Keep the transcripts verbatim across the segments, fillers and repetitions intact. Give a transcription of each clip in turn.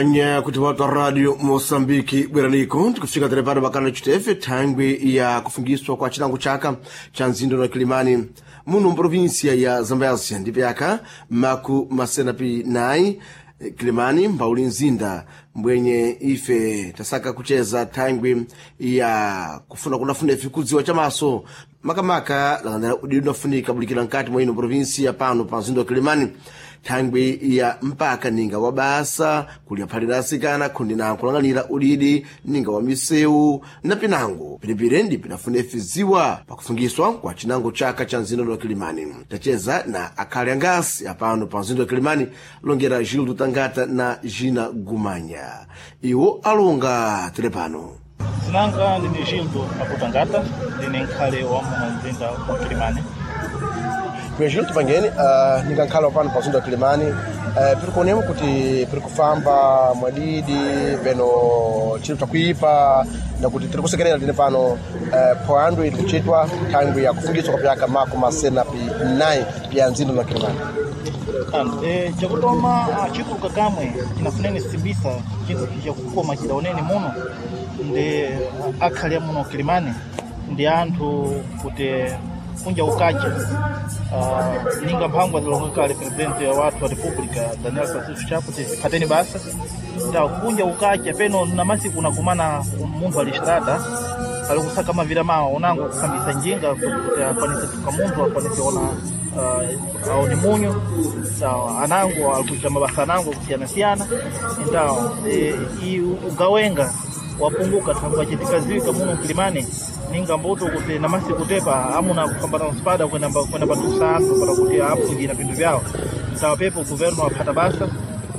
Anya kuti watu wa radio Mosambiki bweraniko tikufika tere pano pakana chitefe thangwi ya kufungiswa kwa chilango chaka cha mzindo na Kilimani muno mprovinsia ya Zambezia ndipo yaka maku masenapi nayi Kilimani mbauli mzinda mbwenye ife tasaka kucheza thangwi ya kufuna kunafuna ife kudziwa chamaso makamaka lakandala udidi unafunika bulikira nkati mwa ino provinsia pano pa mzinda wa Kilimani thangwi ya mpaka ninga wa basa kulya phalira asikana khundi na nkulang'anira udidi ninga wa misewu na pinango pilipili ndi pinafuna ife ziwa pakufungiswa kwa chinango chaka cha mzinda wa Kilimani. Tacheza na akhali angasi apano pa mzinda wa Kilimani longera Gildo Tangata na Gina Gumanya iwo alonga tele pano. Zinanga ndine Gildo Akutangata, ndine nkhale wa muno mzinda wa Kilimani. Gildo tupangeni uh, ningankhala pano pa mzinda wa Kilimani uh, piri kuonemo kuti piri kufamba mwadidi peno chiro chakuipa na kuti tiri kusekerera tine pano uh, phwando iri kuchitwa thangwi ya kufungiswa kwa pyaka mako masena pi nayi pya mzinda wa Kilimani. Ano, eh, chakutoma ah, chikuluka kamwe chinafuneni simbisa chinthu chakukoma chidaoneni muno ndi akhali a muno Kilimani ndi anthu kuti kunja ukacha uh, ninga mphangwa zilonga kale presidente wa wathu wa republica Daniel Francisco Chapo kuti phateni basa ta kunja ukacha peno na masiku unakumana munthu ali strada ali kusaka mavira mawo unango kusambisa njinga kuti akwanise tuka munthu akwanise ona uh, aone munyu sawa anango alikuita mabasa anango kusiyana-siyana ndawo e, i ugawenga wapunguka thangwa chitikaziwika muno Kilimani ninga mbuto kuti namasiku tepa amuna kufambana na spada kwenda kwenda patusa anthu para kuti apujira pinthu vyawo sawa pepo governo aphata basa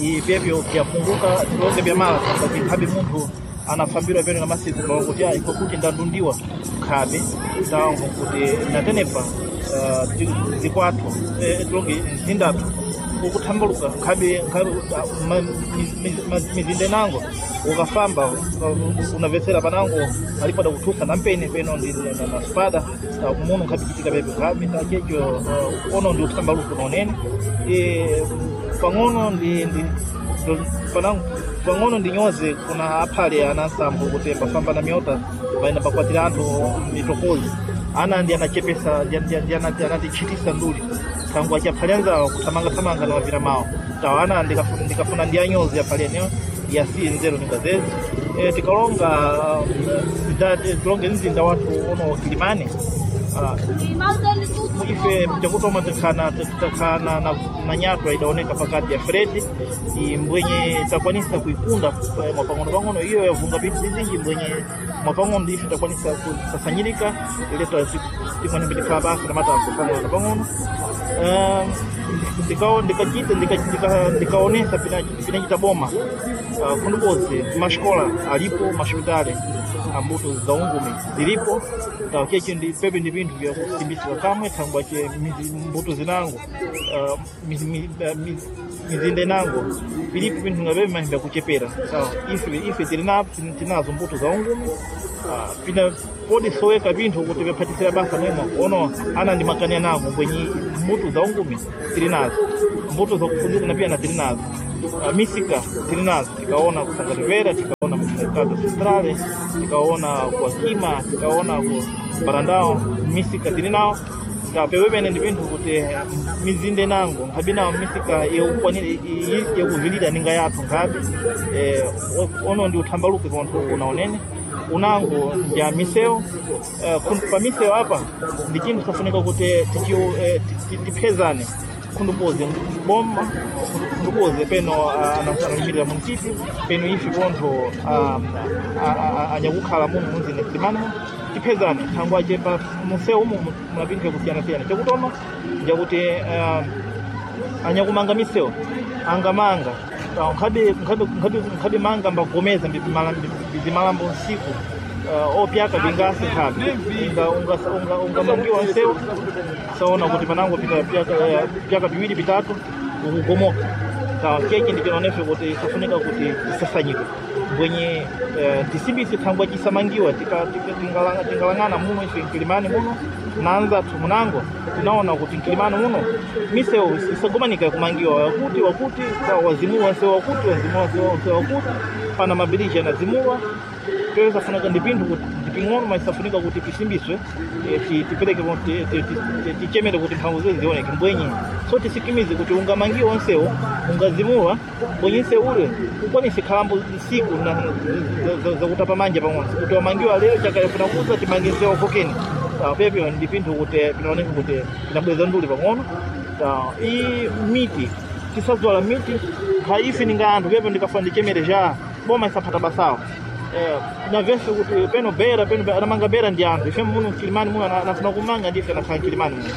i pyepyo vyapunguka tilonge vya mala thangwa chikhabe munthu anafambirwa peno na masiku kuti ah, iko kuti ndandundiwa khabe sawa kuti natenepa uh, zikwathu eh, tilonge mzindathu ukuthambaluka nkhabe mizinda inango ukafamba unavetsera panango alipada kuthusa nampene peno ndi na, na spada muno nkhabe chitika pepe nkhabe tachecho uh, ono ndi uthambaluko naonene e, pang'ono ndi, ndi panango pang'ono ndinyoze kuna aphale anansambo kuti mbafamba na myota vaina pakwatira anthu mitokozi ana ndi anachepesa ndi anatichitisa nduli tangu achaphale anzawo kuthamangathamanga na mavira mawo tawo ana ndikafuna ndi anyozi aphale eneyo yasiye nzeru ningazezi e, tikalonga tilonge mzinda wathu ono Kilimani uh, ife chakutoma tikhana tikhana na, na nyatwa idaoneka pakati ya Fredi mbwenye takwanisa kuikunda mwapang'ono pang'ono iyo yavunga pinthu bizinji mbwenye mwapang'ono ife takwanisa kusasanyirika ileta timwene tikhala basa namata pang'ono pang'ono ndikachita ndikaonesa pinachita boma uh, kundukozi masikola alipo masipitali ambuto za ungumi zilipo tacheche ndi pepe ndi pinthu vya kusimbisika kamwe thangwa che mbuto zinango uh, mizinda inango pilipo pinthu ngapepe mahi vyakuchepera sawa ife ife tilinapo tinazo mbuto za ungumi uh, pina podi soweka pinthu kuti vyaphatisira basa mwemo ono ana ndi makani anango mbwenye mbuto za ungumi tili nazo mbuto za kufundika na pia na tili nazo uh, misika tili nazo tikaona kusangatipera tikaona kumercado centrale tikaona kwa kima tikaona ku barandao misika tili nawo tapewepene ndi pinthu kuti mizinda inango nkhabe nawo misika yakuvilira ninga yathu nkhabe eh, ono ndi uthambaluke konthu unaonene unango nja misewu uh, pa misewu apa ndi chinthu chafunika kuti eh, tiphezane khundupoze boma khundupoze peno analimirira muntipi peno ife pontho anyakukhala muno munzinda Kilimani tiphezane thangwa chepa munsewu umu muna pinthu yakusiyana-siyana chakutoma njakuti anyakumanga misewu angamanga nkhabe nkhabe nkhabe manga mbagomeza mbizimalambo nsiku uh, opyaka bingasi nkhabe ungamangiwa nsewu saona kuti panango pita pyaka pyaka biwiri bitatu ukugomoka sawa keke ndi chinaonefe kuti isafunika kuti isasanyike Mbwenye eh, tisimbise thangwa chisamangiwa tingalang'ana muno ife Nkilimani muno nanza munango tinaona kuti Nkilimani muno misewu isagomanika kumangiwa wakuti wakuti wazimulwa nsewu wakuti wazimulwa nsewu wakuti pana mabiriji anazimulwa. Peyo safunika ndi pinthu kuti ndiping'ono mas safunika kuti tisimbiswe tipereke tichemere kuti mphamvu zezi zioneke. Mbwenye so tisikimize kuti ungamangiwa onsewo ungazimulwa mbwenye nsewu ule ukwanise khalambo nsiku zakutapa manja pang'ono kuti wamangiwa lero chakayafuna kuza timange nsewu kokeni. Pepyo ndi pinthu kuti pinaoneka kuti pinabweza nduli pang'ono. I miti tisadzwala miti kha ife ninga anthu pepo ndikafuna ndichemere ja boma isaphata basawo. Eh, na vese kuti peno bera peno anamanga bera ndi anthu ife muno Nkilimani muno anafuna kumanga ndife anakhala Nkilimani muno.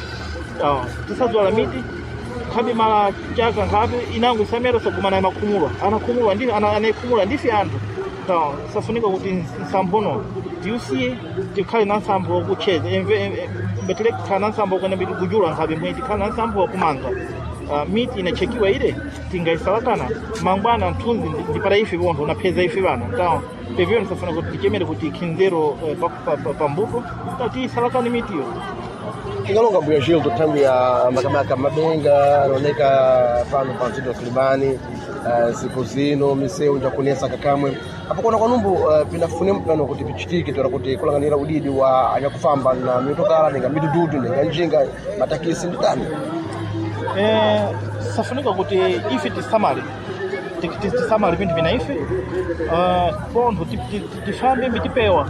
Ah, tisadzwala miti khabe mala chaka nkhabe inango isamera sogumana anakhumulwa anakhumulwa ndi anakhumulwa ndife anthu. Ta safunika kuti nsamphono tiusiye tikhale na nsampho wakucheza mbetele kukhala na nsampho wakuyenda mbiti kujula nkhabe mbwenye tikhale na nsampho wakumanga. Uh, miti inachekiwa ile tingaisalakana mangwana nthunzi ndipata ife bontho unapheza ife bana ta pevyo nisafuna kuti tichemere kuti khinzero uh, pambuto pa, pa tiisalakane mitiyo. Tingalonga mbuya Gildo thangwi ya makamaka mabenga anaoneka pano pa mzinda wa Kilimani uh, siku zino misewu njakunesa kakamwe apo kona kwanumbu uh, pinafune mpano kuti pichitike toera kuti kulanganira udidi wa anyakufamba na mitokala ninga mitututu ninga njinga matakisi nditani. Eh, safunika kuti ife tisamale tisamale pinthu pina ife uh, pontho tifambe mbitipewa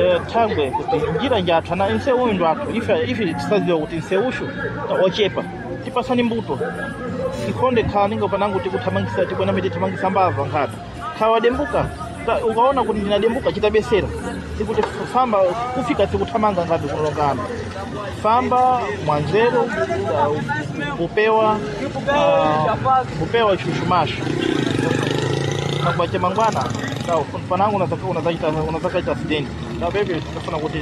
eh, thangwe kuti njira njathu ana nsewu uyu ndo athu ife ife tisadziwa kuti nsewushu ochepa tipasani mbuto ikhonde khala ninga panango tikuthamangisa tikwena miti thamangisa mbava nkhati khala wadembuka ukaona kuti ndinadembuka chitabesera sikuti famba kufika sikuthamanga ngati kulongana famba mwanzeru uh, kupewa uh, kupewa chushumashu kakubacha mangwana panangu unazakaita unazakaita accident na bebe tafuna kuti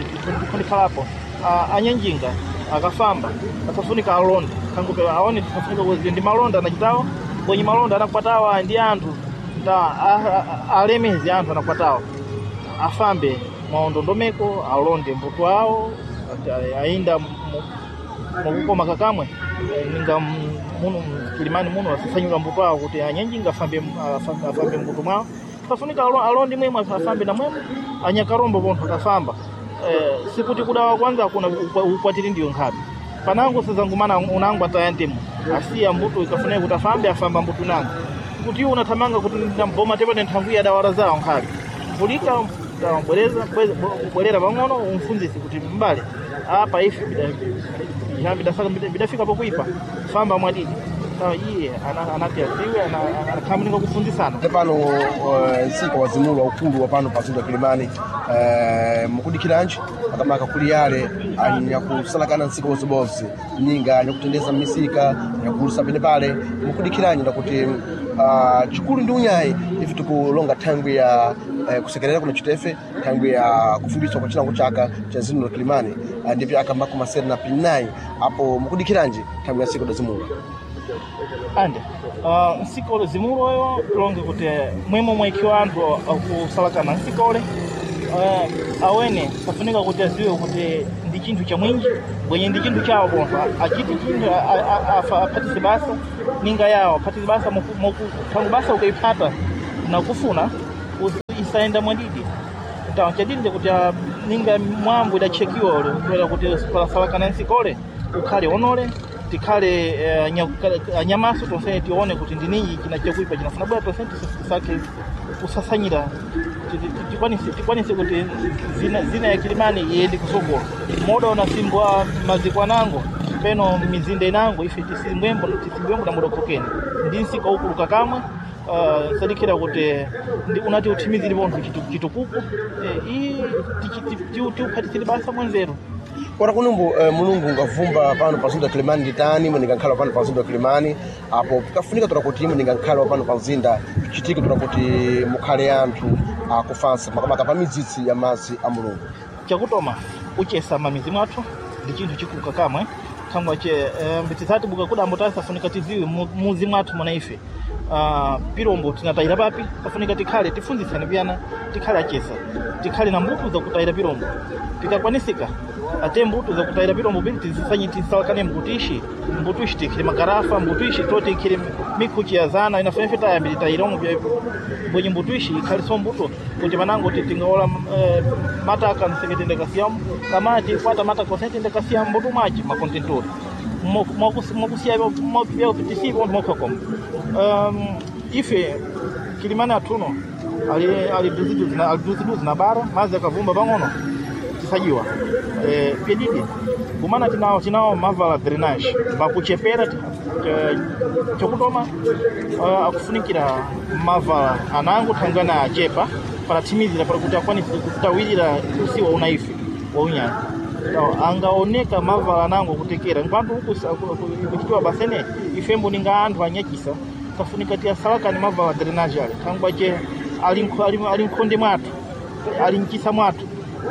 kundikhalapo uh, anyanjinga akafamba asafunika alonda kangupe aone tisafunika kuti ndi malonda anachitawo kwenye malonda anakwatawa ndi anthu ta alemezi anthu anakwatawa afambe mwaondondomeko alonde mbuto awo ainda mukukoma kakamwe ninga muno Kilimani muno asasanyula mbuto awo kuti anyanjinga afambe afambe mbuto mwawo pafunika alondi mwemwe afambe na mwemwe anyakarombo pontho akafamba eh, sikuti kudawa kwanza kuna ukwatiri ndiyo nkhabe panango sazangumana unango atayantemo asiya mbuto ikafuneka kuti afambe afamba mbuto nango kuti iwo unathamanga kuti ndamboma tepane nthangu ya dawara zawo nkhabe vulika bwereza bwerera pang'ono umfunzise kuti mbale apa ife bidafika pokuipa famba mwadidi iye anati aziwe anakhamuninga kufunzisana pano nsika wazimulwa ukulu wa pano pa mzinda wa Kilimani uh, mukudikiranji makamaka kuli yale anyakusalakana nsika wozibozi ninga anyakutendeza misika anyakugulisa pene pale mukudikiranji ndakuti uh, chikulu ndi unyayi ife tikulonga thangwi ya uh, kusekerera kuna chitefe thangwi ya kufumbiswa kwa chilango chaka cha zino la Kilimani uh, ndipyo aka makumi asere na pinayi apo mukudikiranji thangwi ya nsika dazimulwa ande uh, nsika ule zimuloyo tilonge kuti mwemwe mwaikiwa anthu akusalakana nsika ule uh, awene safunika kuti aziwe kuti ndi chinthu cha mwinji bwenye ndi chinthu chawo pontho achiti chinthu aphatise basa ninga yawo aphatise basa thangu basa ukaiphata nakufuna isaenda mwadidi tawa chadidi kuti ninga mwambo idachekiwa ule kuera kuti pasalakana nsika ule ukhale onole tikhale uh, anyamaso tonse tione kuti ndininji china chakuipa chinafuna bwera tonse tisake kusasanyira tikwanise tikwanise kuti zina, zina ya Kilimani iyende kusogolo moda unasimbwa maziko anango peno mizinda inango ife tisimbwembo tisimbwembo na muda kokeni ndi nsika ukuluka kamwe uh, sadikira kuti ndi unati uthimizire pontho chitukuko eh, i tiuphatisire basa mwanzeru Ora kunumbu uh, mulungu ngavumba pano pa mzinda wa Kilimani nditani imwe ningankhala pano pa mzinda wa Kilimani apo pikafunika tola kuti imwe ningankhala pano pa mzinda pichitike tola kuti mukhale anthu akufansa makamaka pa midzitsi ya madzi a mulungu chakutoma uchesa mamizi mwathu ndi chinthu chikuluka kamwe thangwa che eh, mbitsati buka kudambo tasafunika tiziwe muzi mwathu muna ife uh, pirombo tinatayira papi pafunika tikhale tifunzitsane piyana tikhale achesa tikhale na mbuto zakutayira pirombo pikakwanisika ate mbuto zakutayira pirombo bili tizisanye tisalakane mbuto ishi mbuto ishi tikhile magarafa mbuto ishi to tikhile mikhuchi ya zana inafunefe tayambiri tayiromo mbwenye mbuto ishi ikhaliso mbuto kuti panango tingaola eh, mataka nseketende kasiyamu kama tikwata mataka osetende kasiyamu mbuto mwachi makontentori mwakusiya vyakupitisipo mwakhakoma um, ife kilimani athuno ali ali duziduzi na ali duziduzi na bara mazi akavumba pang'ono tisajiwa eh, pyedidi kumana tinawo tinawo mavala drainage mbakuchepera chokutoma uh, akufunikira mavala anango thangana achepa parathimizira para kuti akwanise kutawirira usiwa una ife wa unyani angaoneka mavala anango kutekera nkwantu uku kuchitiwa basene ifembo ninga anthu anyachisa tafunika tiyasalakani mavala drainage ale thangwache ali ali mkhonde mwathu ali mchisa mwathu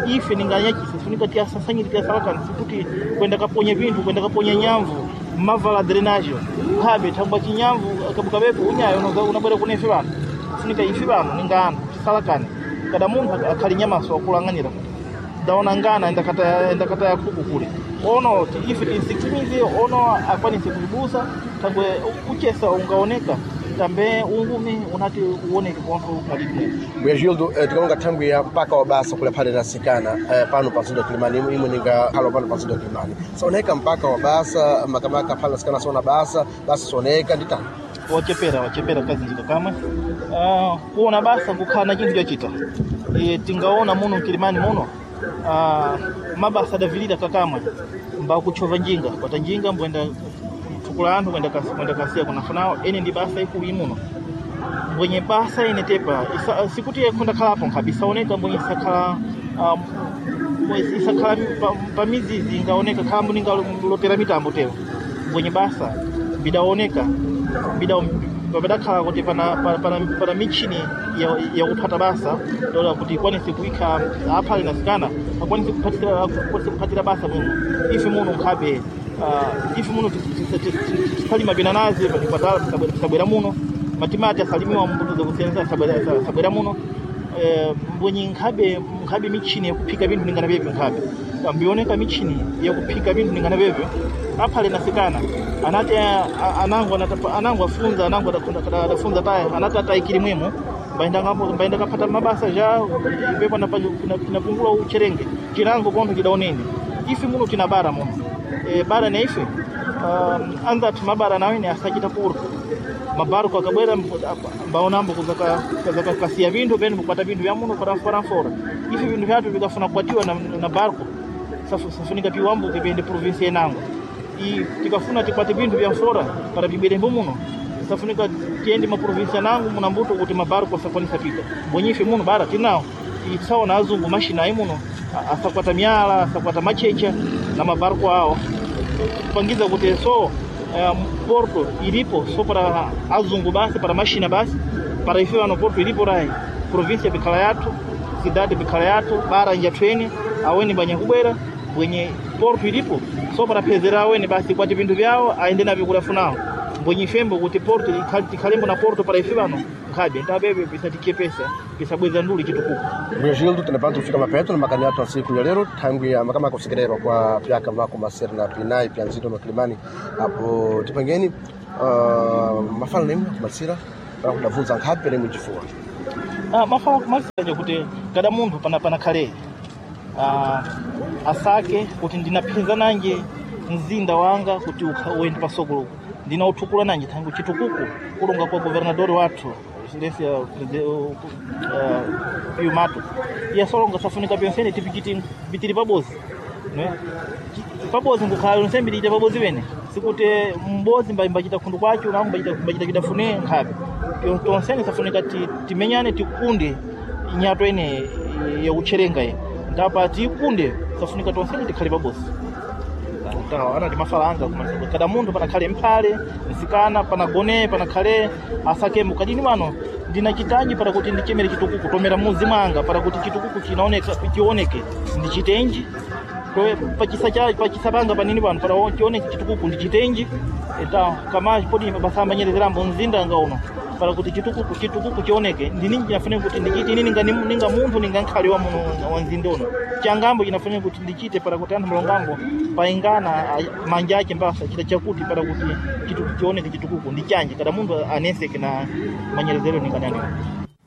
ife ninganyachisa funika tiyasasanyire tiyasalakani sikuti kwenda kaponya vinthu kwenda kaponya nyamvu mavala drainage khabe thangwa chinyamvu kabukabepo unyayo unabwera kune ife vanthu funika ife vanthu ninga anthu tisalakane kada munthu akhali nyamaso akulang'anira ndaona ngana ndakata ndakata khuku kule ono ife tinsikimize ono akwanise kulibusa tangwe uchesa ungaoneka tambe ungumi unati uoneke kontho mwalidimwe Mbuya Gildo eh, tikalonga thangwi ya mpaka wa basa kula phale nasikana eh, pano pa mzinda wa Kilimani imwe imwe ninga khalo pano pa mzinda wa Kilimani saoneka mpaka wa basa makamaka phale nasikana sona basa basa soneka nditani wachepera wachepera kazinjika kamwe uh, kuona basa kukhala na chinthu chochita e, tingaona muno mkilimani muno uh, mabasa adavilira kakamwe mbakuchova njinga kwata njinga mbwenda tukula anthu kwenda kasi, kwenda kasiya kunafunawo ene ndi basa ikulu imuno mbwenye basa ine tepa isa, sikuti yakhonda khalapo nkhabe isaoneka mbwenye isakhala um, isakhala pa, pa mizizi ingaoneka khalambo ningalotera mitambo tero mbwenye basa bidaoneka bida papadakhala kuti pana, pana, pana, pana michini yakuphata basa dola kuti ikwanise kuikha aphale nasikana akwanise kuphatira akwanise kuphatira basa muno ife muno nkhabe uh, ife muno tisalima binanazi patala tisabwera muno matimati asalimiwa mbuto zakusiyana sabwera muno eh, mbwenye nkhabe nkhabe michini yakuphika vinthu ningana vyevyo nkhabe mbioneka michini yakuphika vinthu ningana vyevyo aphale nasikana anati anango anango afunza anango adafunza taya anati atayikiri mwemo mbaenda kaphata mabasa ja ipepo napungula ucherenge chinango kontho chidaonene ife muno tina bara muno e, bara na ife um, anzathu mabara nawene asachita puro mabaruko akabwera mbaonambo kazakakasiya vinthu pene kukwata vinthu vya muno paramforafora ife vinthu vyathu vikafuna kukwatiwa na, na barco safunika piwambuke pende provinsia inango i tikafuna tikwate vinthu vya mfora para vibwerembo muno safunika tiyende maprovinsia nango muna mbuto kuti mabarco asakwanisa pita mbonyife muno bara tinawo tisaona azungu mashina ayi muno asakwata miyala asakwata machecha na mabarco awo kupangiza kuti so um, porto ilipo so para azungu basi para mashina basi para ife vano porto ilipo rai provinsia bikhala yathu cidade bikhala yathu bara njathu aweni banyakubwera bwenye porto ilipo so para phezera aweni basi kwati vinthu vyawo aende navyo kulafunawo mbwenye ifembo kuti porto tikhalembo na porto para ife vano nkhabe ndapebe pisatichepesa pisabweza nduli chitukuko Mbuya Gildo tinapano kufika mapeto na makani athu asiku ya lero thangwi ya makamaka kusekererwa kwa pyaka mako masere na pinai pya mzinda wa Kilimani apo tipangeni uh, mafano nemwe kumasira para kudavunza nkhabe nemwe chifuwa ah, mafano kumasira kuti kada munthu pana panakhale ah, asake kuti ndinaphenza nanje mzinda wanga kuti uende pasokolo ndinautukula nanje thangu chitukuko kulonga kwa governadori wathu excelência uh, Pio Mato iyasolonga safunika pyonsene tipichiti pitiri pabozi ne pabozi ngukhala yonse mbiri pabozi wene sikuti mbozi mbachita khundu kwacho nangu mbachita mbachita chidafune nkhabe tonsene safunika timenyane tikunde inyato ene yakucherenga ye ndapa tikunde safunika tonsene tikhale pabozi anati mafala anga kada munthu panakhale mphale msikana panagone panakhale asakembo kadini pano ndinachitaji para kuti ndichemere chitukuko tomera muzi mwanga para kuti chitukuko chinaoneka chioneke ndichitenji pachisa cha pachisa panga panini pano para chioneke chitukuko ndichitenji eta kama podi basamba nyerezerambo mzinda anga uno Para kuti chitukuko chitukuko chioneke ndi ninji chinafanira kuti ndichite ine ninga ninga munthu ninga nkhali wa muno wa mzinda uno changambo chinafanira kuti ndichite para kuti anthu malongambo paingana manja ake mbasa chita chakuti para kuti chitukuko chioneke chitukuko ndi chanje kada munthu aneseke na manyerezero ningananiwa.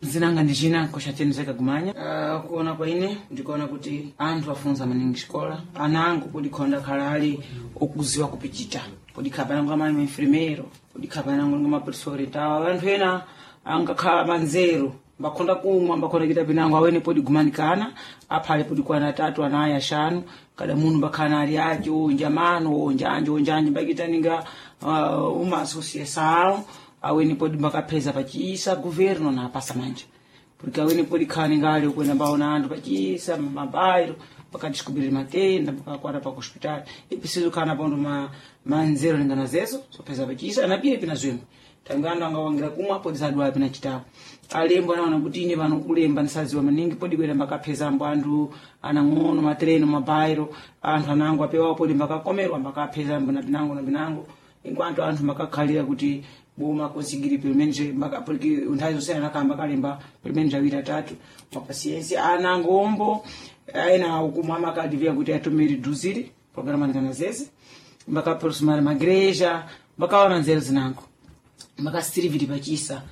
Zinanga ndi china koshatendezeka kumanya. uh, kuona kwa ine ndikuona kuti anthu afunza maningi xikola anango kudikhonda khala ali okuziwa kupichita podikhala panango amayi maenfermeiro podikhala panango nga maprofessori tawa anthu ena angakhala manzeru mbakhonda kumwa mbakhonda kita pinango awene podigumanikana aphale podikwana atatu anayi axanu kada munthu mbakhala ali aci onja mano onja anje onja anje mbakitaninga uh, uma associação awene podi mbakapheza pachisa governo na apasa manja porque awene podi khani ngale kwenda mbaona anthu pachisa mabairo pakadiscobrir matenda pakakwata pa hospital ipreciso khana pondo ma manzero lingana zezo sopheza pachisa anapire pina zwimwe tangu anthu angawangira kumwa podi sadwala pina chitawo alembo anaona kuti ine pano kulemba ndisaziwa maningi podi kwenda mbakaphezambo anthu anang'ono matreno mabairo anthu anango apewawo podi mbakakomerwa mbakaphezambo na pinango na pinango enquanto anthu mbakakhalira kuti boma conseguir pelo menos porque nthawi zonse anakamba kalemba pelo menos awiri atatu mapasiensi anangombo ena ukumwa amakadivia kuti atome reduzir programa ndikana zeze mbakaprosumara magreja mbakaona nzeru zinango mbakasiriviri pachisa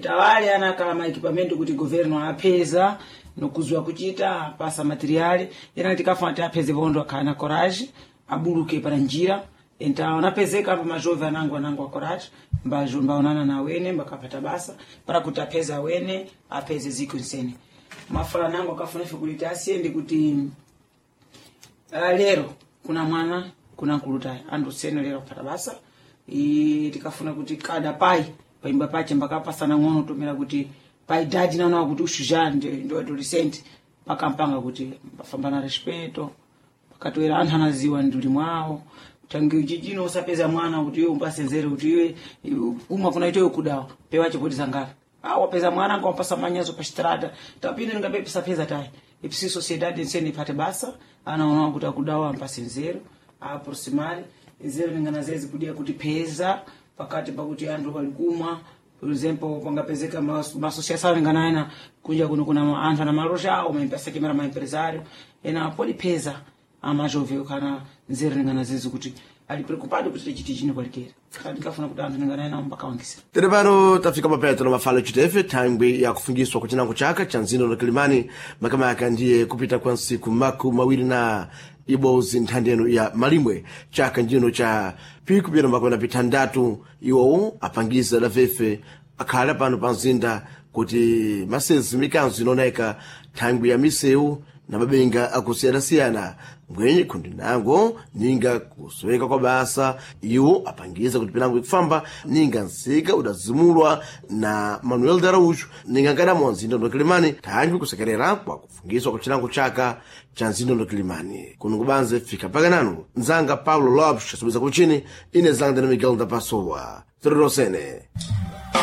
tawale anakala maekipamento kuti governo apeza nokuziwa kuchita apasa materiali ena tikafuna ti apeze vondo akhala na corage abuluke para njira então anapezeka apa majove anango anango acorage mbaonana na wene mbakapata basa para kuti apeze awene apeze ziko nsene mafala nango akafuna ife kuti asiyende kuti uh, lero kuna mwana kuna nkulutayi andu sene lero kupata basa e, tikafuna kuti kada pai paimba pache mbakapasana ng'ono tomera kuti pai dadi naona kuti ushuja ndo adolescent pakampanga kuti mbafamba na respeto pakatoera anthu anaziwa nduli mwawo tangi chichino usapeza mwana kuti iwe umpasenzere kuti iwe umwa kuna itoyo kudawa pewa chipoti zangara ah wapeza mwana ngo wampasa manyazo pa strada tapino ningapepesa peza tayi ipsi sociedade nsene ipate basa anaona kuti akudawa ampasenzero aproximare nzero ningana zezi kudia kuti peza pakati pakuti anthu walikumwa por exemplo pangapezeka masociação inganaena kunja kuno kuna anthu ana maloja awo maempesa ma empresário ena podi peza amajove kana nzeru ningana zizi kuti ali preocupado kuti tichiti chino kwalikera ndikafuna kuti anthu ninganaena mbakawangisira Tere pano tafika mapeto na mafalo chitefe thangwi ya kufungiswa kwa chinango chaka cha mzinda wa Kilimani makamaka ndiye kupita kwa nsiku maku mawiri na ibozi nthandeno ya malimwe chaka njino cha piku pira makwena pithandatu iwowo apangiza lafefe akhala pano pa mzinda kuti masezi mikanzo inaoneka thangwi ya misewu na mabenga akusiyana-siyana mbwenye kundi nango ninga kusoweka kwa basa iwo apangiza kuti pinango ikufamba ninga nsika udazimulwa na Manuel Daraújo ninga nkadamo mzinda ndo Kilimani thangwi kusekerera kwa kufungiswa kwa chilango chaka cha mzinda ndo Kilimani kuno kubanze fika paka nanu nzanga Paulo Lopes asubeza kuchini ine zanga na Miguel da Pessoa Tororosene.